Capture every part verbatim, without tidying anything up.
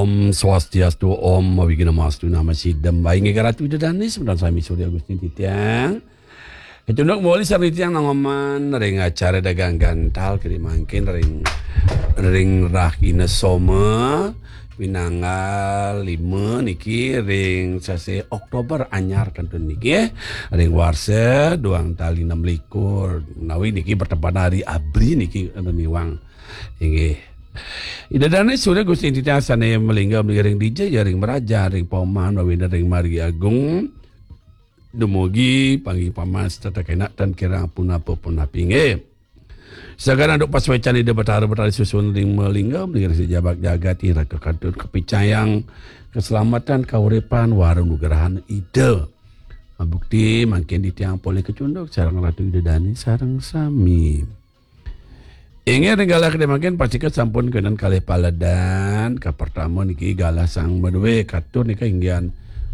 Om Swastiastu, Om Awighnamastu, Nama Sidam. Baik, nggih, Ratu Ida Dané, semeton sami Surya Gusti titiang. Kecunduk muli sami titiang nang oman ring acara dagang gantal kiri mangkin ring, ring rahina Soma, pinanggal lima niki ring sasih Oktober anyar kantun niki, ring warsa duang tali enam likur. Menawi niki bertepatan hari abri niki enten miwang. Inggih. Ida Dané Surya Gusti titiang sané malingga ring dija ya ring mrajan, ring paumahan, wawinda ring margi agung. Dumugi panggih pamas tetep enak tan kirang punapa-punapi, nggih. Sagan anduk pasuécan Ida Batara Batari susun ring malingga, ring sejabak jagat ira kakantun kapicayang keselamatan kauripan wara nugrahan Ida. Mabukti mangkin titiang polih kecunduk sareng Ratu Ida Dané sareng sami. Inggih ring galah kedé mangkin pastika sampun kénten kalih paledan. Kapertama niki galah sang madué katur nika inggihan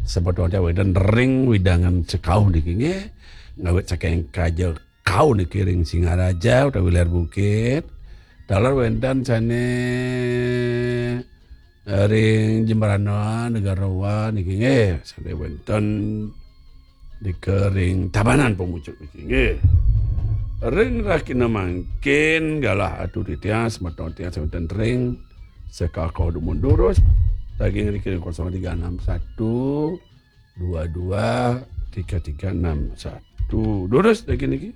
semeton wénten ring wewidangan sekauh niki nggih. Ngawit saking Kaja Kau niki ring Singaraja utawi Hilir Bukit. Taler wénten sané ring Jembrana Negara Wa niki nggih, sané wénten nika ring Tabanan Pamucuk niki nggih. Ring rahina mangkin galah atur titiang semeton titiang sané wénten ring Sekauh dumun durus daging niki ring kosong tiga enam satu dua dua tiga tiga enam satu. Durus daging niki.